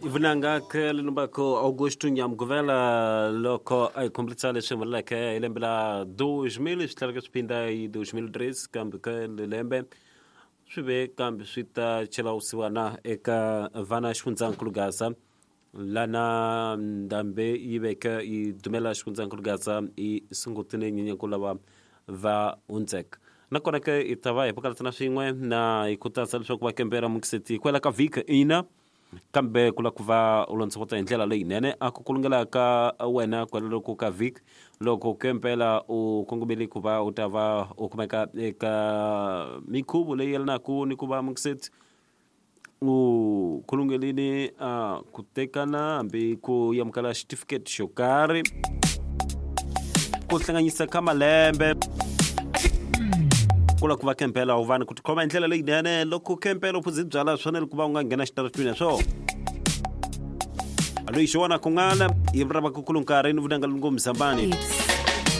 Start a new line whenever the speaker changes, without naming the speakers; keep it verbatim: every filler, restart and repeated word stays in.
Vunanga ke lumbako Augusto Nyamguvela loko a hi kombisa leswi humeleleke hi lembe la dois mil swi tlhelaka swi phinda hi dois mil treze kambe ka lembe swi ve kambe swi ta chela vusiwana eka vana xifundzankulu Gaza lana ndhambi yi veke yi dumela xifundzankulu Gaza yi sungutile nyenyankulu lava va hundzeka nakona ke hi ta va hi pakalatana swin'we na hi khutaza leswaku va kembela mukiseti kwela ka vhiki ina kambe ku lava ku va u londzovota hi ndlela leyinene a ku kulungela ka wena kwaloko ka vhiki loko kempela u kongomele ku va u ta va u kumeka eka minkhuvo leyi yelanaka ni ku va mukiseti u khulungelini a ku tekana hambi ku amukela xitifiketi xo karhi ku hlanganyisa ka malembe ku lava ku va kempela u va ni ku tikhoma hi ndlela leyinene loko kempela u phuze byala swi fanele ku va u nga nghena xitaratwini swo loyi xi vona kun'wana yi rava ku kulu nkarhi ni vunanga lungo mzambani.